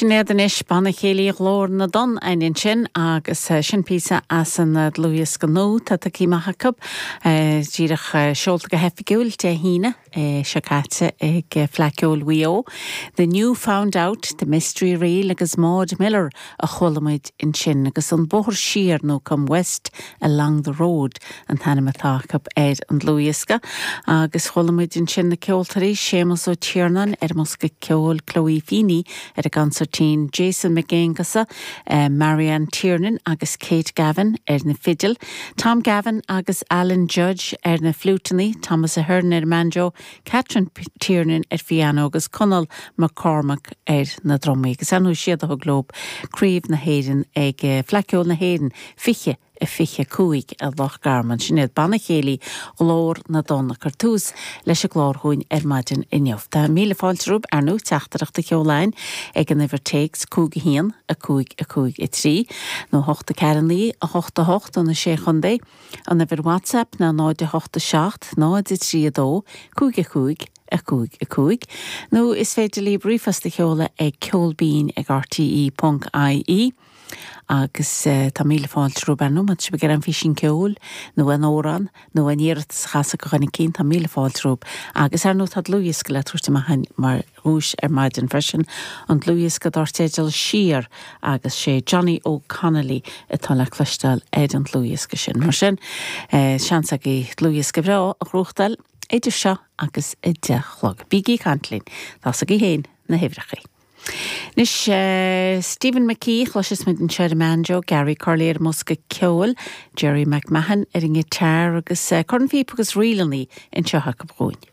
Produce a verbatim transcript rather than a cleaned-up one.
Sin iad anois Banna Céilí Ghlór na dTonn ansin agus eh, sin píosa as an eh, dlúthdhiosca nua atá tagtha amach acu eh, díreach seolta go hoifigiúil Dé hAoine seo caite ag Fleadh Cheoil Mhaigh Eo. The New Found Out, The Mystery Reel agus Maud Miller a chuala muid ansin agus an bóthar siar nó Come West Along the Road an t-ainm atá acu ar an dlúthdhiosca agus chuala muid ansin na ceoltóirí Séamus Ó Tiarnáin ar an mbosca ceoil Chloe Feeney ar an gconsairtín Jason McGaingusa, uh, Marianne Tiernan agus Kate Gavin ar na fidil, Tom Gavin agus Alan Judge ar na fliúiteanna, Thomas Ahern ar banjo, Catherine Tiernan ar piano agus Conall McCormack ar na drumaí, agus anu siad a thug leo Craobh na hÉireann ag eh, Fleadh Cheoil na hÉireann fiche a fiche cúig a Loch Garman sin iad Banna Céilí Ghlór na dTonn ag cur tús leis an gclár dhúinn ar maidin inniu. Tá míle fáilte romhaibh ar ndóigh teachtaireacht a sheoladh ag an uimhir téacs cúig a haon a cúig a cúig a trí, nó hocht a ceathair naoi a hocht a hocht do na sé chontae, an uimhir WhatsApp ná náid a hocht a seacht náid a trí a dó cúig a cúig a cúig a cúig, nó is féidir libh ríomhphost a sheoladh ag ceolbinn ag rte.ie. agus uh, tá míle fáilte romhaibh ar ndóigh má tá sibh an físin ceoil nó an amhrán nó an iarratas chasa go chuine cinn tá míle fáilte romhaibh agus ar ndóigh tá dlúthdhiosca le tabhairt amach mar dhuais ar maidin freisin an dlúthdhiosca dar teideal siar agus sé Johnny O'Connolly atá le cloisteáil ar an dlúthdhiosca sin. Mar sin eh, seans agaibh dlúthdhiosca breá a ghnóthachtáil idir seo agus a deich a chlog. Bígí ag caint linn, tá agaibh féin na huimhreacha. Anois uh, Stephen McKee chloisfidh muid anseo ar an mbanjo, Gary Curley ar an mbosca ceoil, Jerry McMahon ar an ngiotár agus uh, cornphíopa agus ríleanna anseo acu dhúinn.